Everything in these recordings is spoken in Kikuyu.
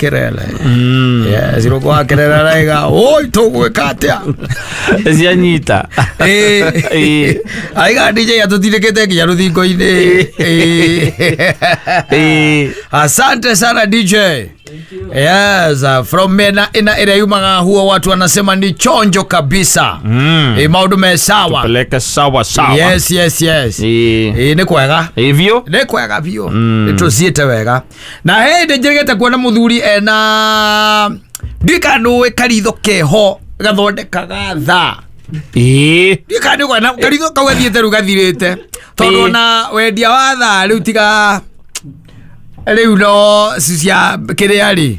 Kerele. Yes, irũngũ wa Kerele araiga oi tũgwĩka atĩa? Cianyita. Ĩĩ. Aiga DJ atũtindĩkĩte nginya rũthingo-inĩ. Ĩĩ. Asante sana DJ. Yes, from mena ina ĩrĩa yumaga huo watu wanasema ni chonjo kabisa. Ĩ maũndũ me sawa. Peleke sawa sawa. Yes, yes, yes. Ĩĩ. Ĩ nĩ kwega. Hivyo. Nĩ kwega biũ. Nĩ tũciĩte wega. Na hĩndĩ njĩrĩgĩte kuona mũthuri ena ndiũĩ kana nĩũĩ karitho keho gathondekaga thaa. Ĩĩ. Ndiũĩ kana nĩũĩ na karitho kau gathiĩte rĩu gathirĩte. Tondũ Ĩĩ. ona wendia wa thaa rĩu tiga rĩu no cia kĩrĩa rĩ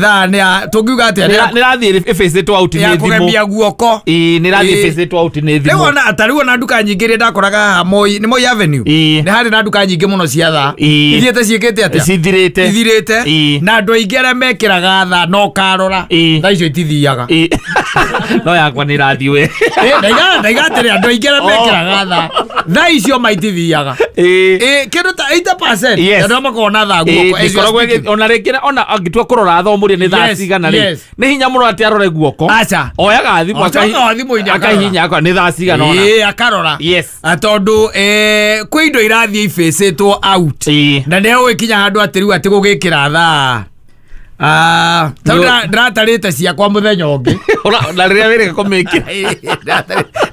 thaa nĩ ya tũngiuga atĩa nĩ ya- Nĩ rathiĩ ĩbĩcĩtwo out ya nĩ thimũ. kũgemia guoko. Ĩĩ, nĩ rathiĩ Ĩĩ. ĩbĩcĩtwo out nĩ Rĩu thimũ. ona ta rĩu ona nduka nyingĩ iria ndakoraga haha Moi nĩ Moi Avenue. Ĩĩ. Nĩ harĩ na nduka nyingĩ mũno cia thaa. Ĩĩ. Ithiĩte ciĩkĩte atĩa? Cithirĩte. Ithirĩte. Ĩĩ. Na andũ aingĩ arĩa mekĩraga thaa no karora. Ĩĩ. Thaa icio itithiaga. Ĩĩ. No yakwa nĩ ĩrathiĩ we. Ĩĩ, ndaiga atĩrĩ andũ aingĩ arĩa Oh. mekĩraga thaa thaa icio maitithiaga. Ĩĩ. Ĩĩ, kĩndũ ta 80% Yes. andũ arĩa makoragwo na thaa Ĩĩ, guoko. As you are ndĩkoragwo speaking. ona rĩngĩ ona angĩtua kũrora thaa ũmũrie nĩ thaa Yes, cigana rĩ yes. nĩ hinya mũno atĩ arore guoko. Aca. Oyaga thimũ Oyaga thimũ-inĩ akarora. akahihinya akona nĩ thaa cigana ona. Ĩĩ, akarora. Yes. Tondũ kwĩ indo irathiĩ ibĩcĩtwo out. Ĩĩ. Na nĩ ũgĩkinya handũ atĩ rĩu atĩ gũgĩkĩra thaa. Ah, tondũ ndĩratarĩte ciakwa mũthenya ũngĩ. Na rĩrĩa wĩrĩga kũmĩkĩra.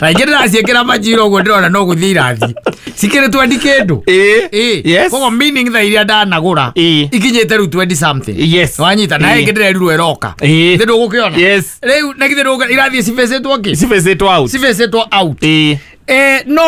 Na ingĩ ndĩraciĩkĩra majira ũguo ndĩrona no gũthiĩ irathiĩ. Cikĩrĩ 20 kĩndũ. Ĩĩ. Ĩĩ. Yes. Koguo meaning thaa iria ndanagũra Ĩĩ. ikinyĩte rĩu 20 something. Yes. Wanyita na Ĩĩ. ĩngĩ ndĩrerirwo ĩroka. Ĩĩ. Githĩ ndũgũkĩona? Yes. Rĩu na githĩ ndũgũkĩona irathiĩ cibĩcĩtwo kĩ? Cibĩcĩtwo out. Cibĩcĩtwo out. Ĩĩ. No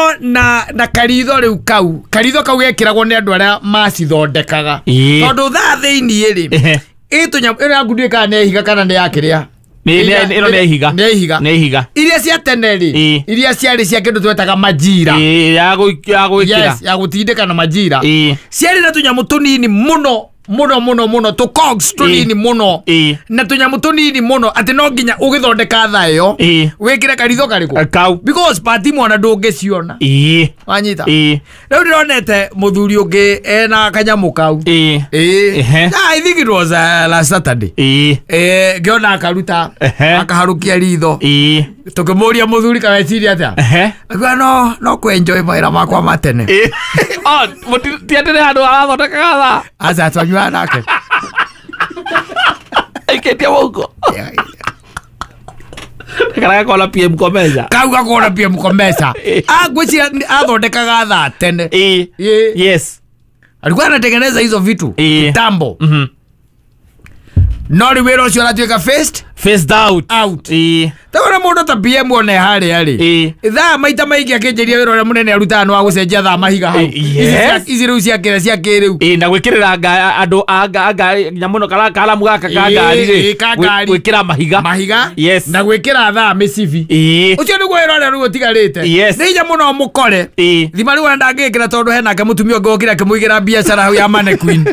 na karitho rĩu kau karitho kau gekĩragwo nĩ andũ arĩa macithondekaga. Ĩĩ. Tondũ thaa thĩiniĩ rĩ Ehe. ĩ tũnyamũ ĩno yaku ndiũĩ kana nĩ ya ihiga kana nĩ ya kĩrĩa. Ĩno nĩ ya ihiga. Nĩ ya ihiga. Nĩ ihiga. Iria cia tene rĩ Ĩĩ. iria ciarĩ cia kĩndũ twetaga majira. Ĩĩ, ya gwĩkĩra. Yes, ya gũtindĩka na majira. Ĩĩ. Ciarĩ na tũnyamũ tũnini mũno mũno mũno mũno tũ cogs tũnini mũno. Ĩĩ. Na tũnyamũ tũnini mũno atĩ no nginya ũgĩthondeka thaa ĩyo Ĩĩ. wĩkĩre karitho karĩkũ? Kau. Because pati mwana ndũngĩciona. Ĩĩ. Wanyita? Ĩĩ. Rĩu ndĩronete mũthuri ũngĩ ena kanyamũ kau. Ĩĩ. Ĩĩ. Ehe. I think it was last Saturday. Ĩĩ. Ĩĩ, ngĩona akaruta Ehe. akaharũkia ritho. Ĩĩ. Tũkĩmũria mũthuri kana eciria atĩa. Ehe. Akiuga no kwenjoy mawĩra makwa ma tene. Ĩĩ. Oh, ti atĩ nĩ handũ arathondekaga thaa. Aca twanyuaga nake. Aikĩtie mũhuko. Kana gakona PM Komeza. Kau gakona PM Komeza. Ngwĩciria athondekaga thaa tene. Ĩĩ. Ĩĩ. Yes. Alikuwa anatengeneza hizo vitu Ĩĩ. kitambo. Mhm. No rĩu wĩra ũcio ũratuĩka phased Phased out. out. Ĩĩ. Tawona mũndũ ta PM one harĩa rĩ. Ĩĩ. Thaa maita maingĩ akĩnjĩria wĩra ũrĩa mũnene arutaga nĩ wa gũcenjia thaa mahiga hau. Yes. Ici rĩu cia kĩrĩa cia kĩrĩu. Ĩĩ, na gwĩkĩrĩra andũ a nyamũ ĩno karamu gaka ka Ĩĩ, ngari rĩ. ĩĩ, ka ngari. Gwĩkĩra mahiga. Mahiga. Yes. Na gwĩkĩra thaa mĩcibi. Ĩĩ. Ũcio nĩguo wĩra ũrĩa rĩu ũtigarĩte. Yes. Nĩ hinya mũno mũkore. Ĩĩ. Thima rĩu ona ndangĩkĩra tondũ hena ke mũtumia ũngĩ wokire akĩmũigĩra biacara hau ya mannequin.